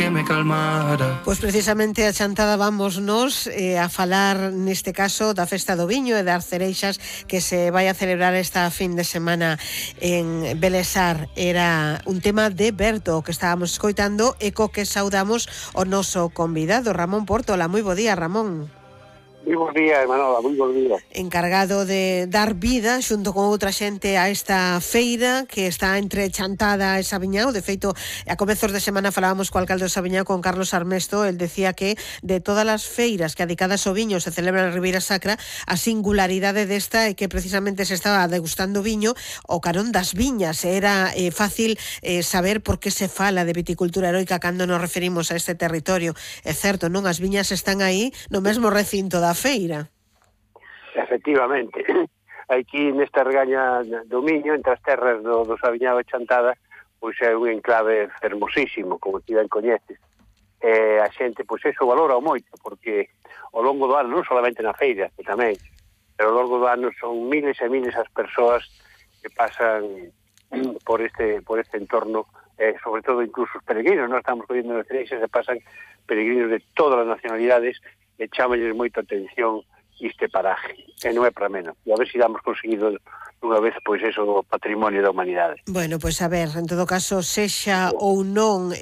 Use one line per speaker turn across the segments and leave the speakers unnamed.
que me calmara.
Pois precisamente a chantada vámonos a falar neste caso da Festa do Viño e das cereixas que se vai a celebrar esta fin de semana en Belesar. Era un tema de Berto que estábamos escoitando e co que saudamos o noso convidado Ramón Pórtola. Moi bo día, Ramón.
Moi bons días, Manola, moi bons días.
Encargado de dar vida xunto con outra xente a esta feira que está entre Chantada e Sabiñao. De feito, a comezos de semana falábamos co alcalde de Sabiñao, con Carlos Armesto. El decía que de todas as feiras que adicadas ao viño se celebran en Ribeira Sacra, a singularidade desta é que precisamente se estaba degustando viño o carón das viñas. Era fácil saber por que se fala de viticultura heroica cando nos referimos a este territorio. É certo, non? As viñas están aí no mesmo recinto da feira.
Efectivamente, aquí nesta regaña do Miño, entre as terras do Sabiñao e Chantada, pois é un enclave fermosísimo, como ti ben coñeces. A xente, pois eso, valora moito, porque ao longo do ano, non solamente na feira, que tamén, pero ao longo do ano son miles e miles as persoas que pasan por este entorno, sobre todo incluso os peregrinos. Nós estamos collendo nas cereixas e pasan peregrinos de todas as nacionalidades e chámalles moita atención este paraje, e non é para menos. E a ver se damos conseguido unha vez, pois, eso do patrimonio da humanidade.
Bueno, pois a ver, en todo caso, sexa ou non,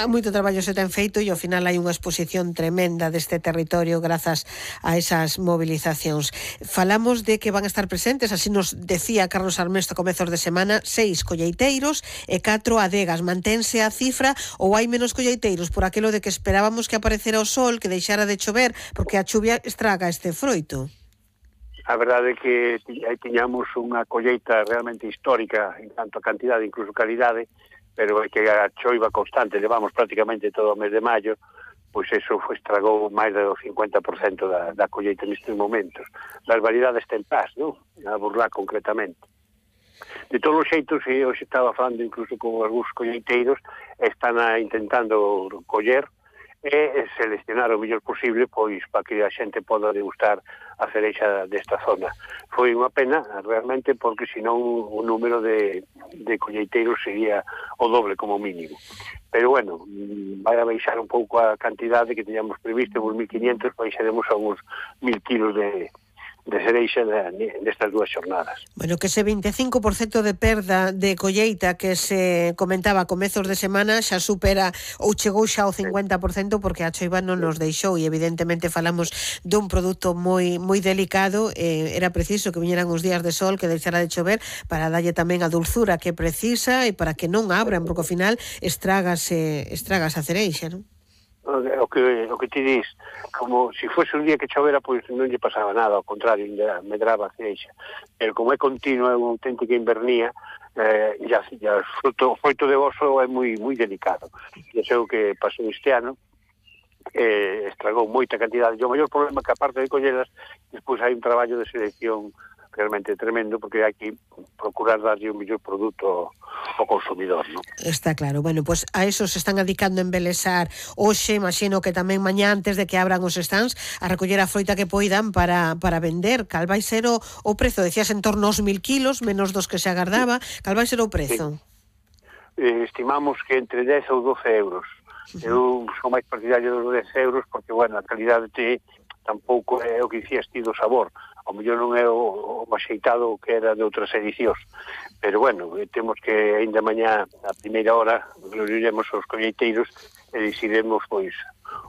moito traballo se ten feito e ao final hai unha exposición tremenda deste territorio grazas a esas movilizacións. Falamos de que van a estar presentes, así nos decía Carlos Armesto a comezos de semana, 6 colleiteiros e 4 adegas. Mantense a cifra ou hai menos colleiteiros por aquilo de que esperábamos que aparecera o sol, que deixara de chover, porque a chuvia estraga este froito?
A verdade é que aí tiñamos unha colleita realmente histórica en tanto a cantidade, incluso calidade, pero é que a choiva constante, levamos prácticamente todo o mes de maio, pois eso estragou máis do 50% da colleita nestes momentos. Das variedades tempás, non? A burlá concretamente. De todos os xeitos, hoxe estaba falando incluso con algúns colleiteiros, están intentando coller e seleccionar o mellor posible pois para que a xente poda degustar a cereixa desta zona. Foi unha pena realmente, porque senón o número de colleiteiros sería o doble como mínimo. Pero bueno, vai a baixar un pouco a cantidade que teníamos previsto, uns 1.500, baixaremos a uns 1.000 kilos de cereixa nestas dúas xornadas.
Bueno, que ese 25% de perda de colleita que se comentaba a comezos de semana xa supera ou chegou xa ao 50%, porque a choiva non nos deixou e evidentemente falamos dun produto moi delicado. Era preciso que viñeran os días de sol, que deixara de chover para darlle tamén a dulzura que precisa e para que non abran, porque ao final estragas a cereixa, non?
O que ti dis, como se fosse un día que chovera, pois non lle pasaba nada, ao contrario, medraba a cereixa. Pero como é continuo, é unha auténtica invernía, o froito de oso é moi delicado. E é o que pasou este ano, estragou moita cantidade. E o maior problema que, aparte de colleras, despois hai un traballo de selección realmente tremendo, porque hai que procurar darlle un mellor produto ao consumidor, non?
Está claro. Bueno, pois a eso se están adicando en Belesar hoxe, imagino que tamén mañá, antes de que abran os stands, a recoller a froita que poidan para vender. Cal vai ser o prezo? Decías en torno aos 1.000 kilos, menos dos que se agardaba. Cal vai ser o prezo?
Estimamos que entre 10 ou 12 euros. Eu sou máis partidario dos 10 euros, porque, bueno, a calidade tampouco é o que dicías ti do sabor. Ao mellor non é o axeitado que era de outras edicións. Pero, bueno, temos que ainda mañá, a primeira hora, reuniremos os colleiteiros e decidiremos, pois,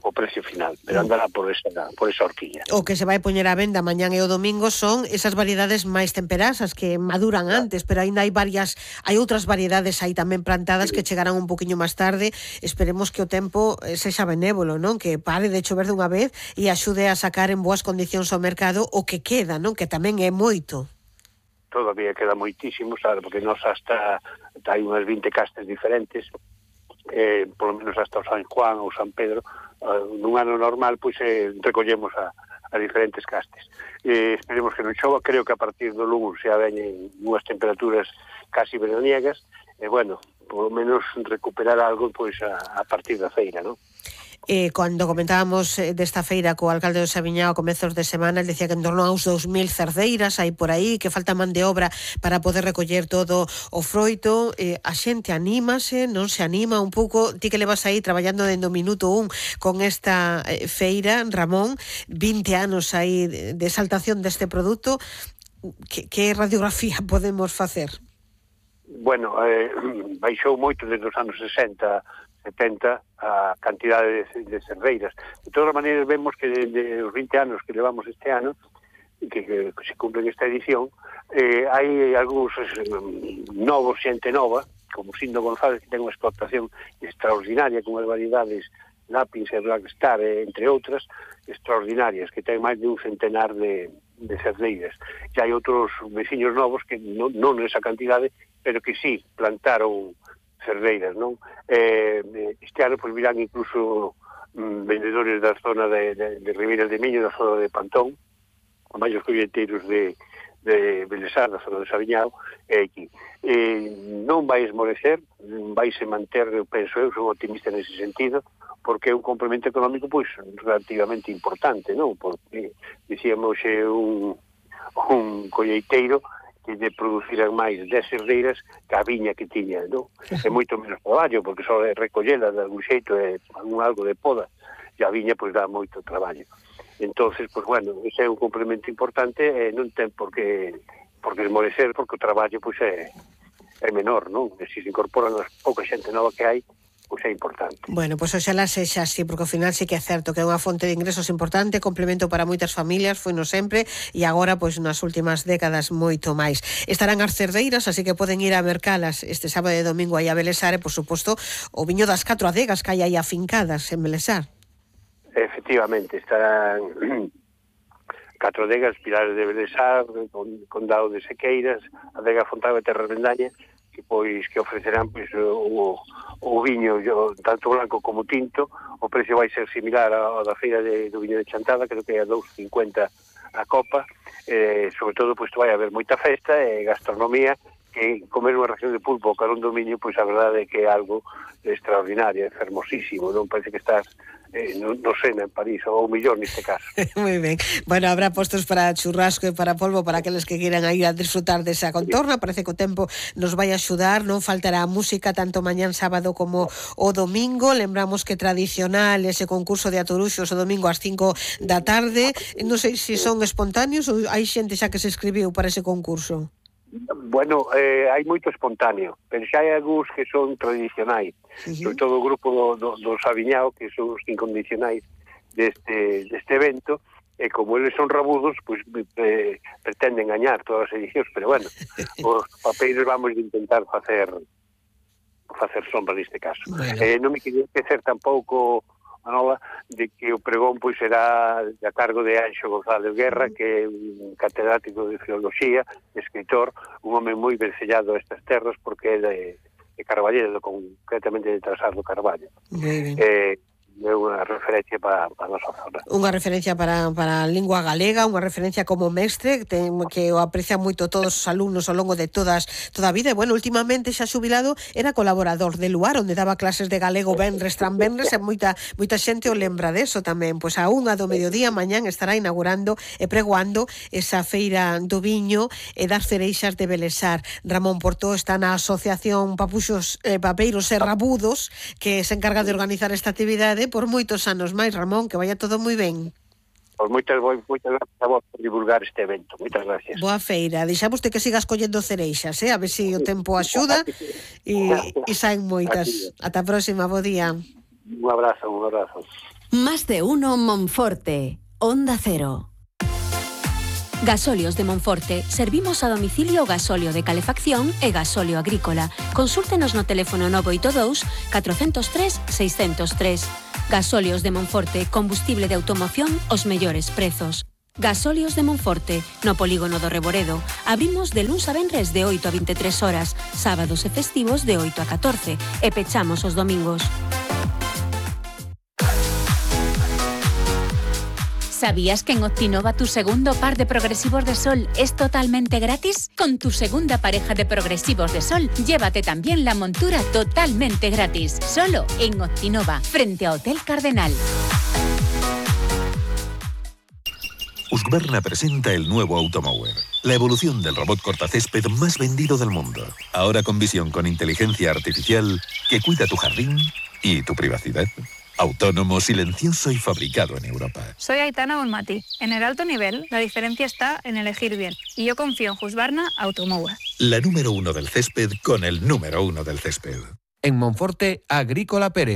o precio final. Pero andará por esa horquilla.
O que se vai poñer á venda mañán e o domingo son esas variedades máis temperasas que maduran antes, pero ainda hai outras variedades aí tamén plantadas que chegarán un poquinho máis tarde. Esperemos que o tempo sexa benévolo, non? Que pare de chover dunha vez e axude a sacar en boas condicións ao mercado o que queda, non? Que tamén é moito.
Todavía queda moitísimo, sabe? Porque nos hasta hai unhas 20 castes diferentes, polo menos hasta o San Juan ou San Pedro. Nun ano normal, pois recollemos a diferentes castes. Esperemos que non chova. Creo que a partir do lunes xa veñen unhas temperaturas casi veraniegas, e bueno, polo menos recuperar algo pois a partir da feira, non?
Cando comentábamos desta feira co alcalde do Saviñao a comezos de semana, el decía que en torno aos 2000 cerdeiras hai por aí, que falta man de obra para poder recoller todo o froito. A xente anímase, non se anima un pouco? Ti que levas aí traballando dende o minuto 1 con esta feira, Ramón, 20 anos aí de exaltación deste produto, que radiografía podemos facer?
Bueno, baixou moito desde os anos 60, 70 a cantidade de cerdeiras. De todas maneiras, vemos que desde os 20 anos que levamos este ano, que se cumplen esta edición, hai algúns novos, xente nova, como Sindo González, que ten unha explotación extraordinaria con as variedades Lápis e Blackstar, entre outras, extraordinarias, que ten máis de un centenar de cerdeiras. E hai outros veciños novos que non nesa cantidade, pero que sí plantaron cerdeiras, non? Este ano pois virán incluso vendedores da zona de Ribeira de Miño, da zona de Pantón, os maiores colleteiros de Belesar, da zona de Saviñao, e aquí. Non vai esmorecer, vai se manter, eu penso, eu sou optimista nese sentido, porque é un complemento económico pois relativamente importante, non? Porque dicíamos un colleiteiro que de produciran máis 10 cerdeiras que a viña que tiña, non? É moito menos traballo, porque só é recollela de algún xeito, é algo de poda, e a viña pois dá moito traballo. Entonces, pois bueno, ese é un complemento importante e non ten por que esmorecer, porque o traballo pois é menor, non? E se incorporan as pouca xente nova que hai, pois é importante.
Bueno, pois oxalá sexa así, porque ao final sí que é certo que é unha fonte de ingresos importante, complemento para moitas familias, foi no sempre, e agora, pois nas últimas décadas, moito máis. Estarán as cerdeiras, así que poden ir a mercalas este sábado e domingo aí a Belesar, e, por suposto, o viño das 4 adegas que hai aí afincadas en Belesar.
Efectivamente, estarán 4 adegas, Pilares de Belesar, Condado de Sequeiras, Adega Fontaba e Terra Rendaña, que ofrecerán pois o viño tanto blanco como tinto. O precio vai ser similar ao da feira do viño de Chantada, creo que é a 2,50 a copa. Sobre todo pois vai haber moita festa e gastronomía, que comer unha ración de pulpo ao carón do viño, pois a verdade é que é algo extraordinario, é fermosísimo, non parece que estás no Sena, en París, ou millón neste caso.
Moi ben. Bueno, habrá postos para churrasco e para polvo para aqueles que queiran ir a disfrutar desa contorna. Parece que o tempo nos vai axudar, non faltará música tanto mañán sábado como o domingo. Lembramos que tradicional ese concurso de atoruxos o domingo ás 5 da tarde. Non sei se son espontáneos ou hai xente xa que se escribiu para ese concurso.
Bueno, hai moito espontáneo, pero xa hai algúns que son tradicionais, sobre todo o grupo do Saviñao, que son os incondicionais deste evento, e como eles son rabudos, pois pretenden gañar todas as edicións, pero bueno, os papeiros vamos intentar facer sombra neste caso. Bueno. Non me quería esquecer tampouco, Manola, de que o pregón pois será a cargo de Anxo González Guerra, que é un catedrático de filoloxía, escritor, un home moi vencellado a estas terras, porque é de Carballedo, concretamente de Trasar do Carballo. É unha referencia para a nosa zona.
Unha referencia para a lingua galega, unha referencia como mestre, que o aprecian moito todos os alumnos ao longo de toda a vida. E, bueno, últimamente xa xubilado era colaborador de Luar, onde daba clases de galego venres tras venres, e moita xente o lembra deso tamén. Pois a 1 do mediodía mañán estará inaugurando e pregoando esa feira do viño e das cereixas de Belesar. Ramón Portó está na Asociación Papuxos, Papeiros e Rabudos, que se encarga de organizar esta actividade por moitos anos máis. Ramón, que vaya todo moi ben.
Pois moitas gracias a vos por divulgar este evento. Moitas gracias.
Boa feira. Deixámoste que sigas collendo cereixas, a ver se o tempo axuda e saen moitas. Ata a próxima, bo día.
Un abrazo.
Más de uno Monforte, Onda Cero. Gasóleos de Monforte. Servimos a domicilio gasóleo de calefacción e gasóleo agrícola. Consúltenos no teléfono 982 403 603. Gasóleos de Monforte. Combustible de automoción os mellores prezos. Gasóleos de Monforte, no polígono do Reboredo. Abrimos de luns a venres de 8 a 23 horas, sábados e festivos de 8 a 14 e pechamos os domingos.
¿Sabías que en Optinova tu segundo par de progresivos de sol es totalmente gratis? Con tu segunda pareja de progresivos de sol, llévate también la montura totalmente gratis. Solo en Optinova, frente a Hotel Cardenal.
Husqvarna presenta el nuevo Automower, la evolución del robot cortacésped más vendido del mundo. Ahora con visión con inteligencia artificial que cuida tu jardín y tu privacidad. Autónomo, silencioso y fabricado en Europa.
Soy Aitana Bonmatí. En el alto nivel, la diferencia está en elegir bien. Y yo confío en Husqvarna Automower.
La número 1 del césped con el número 1 del césped.
En Monforte, Agrícola Pérez.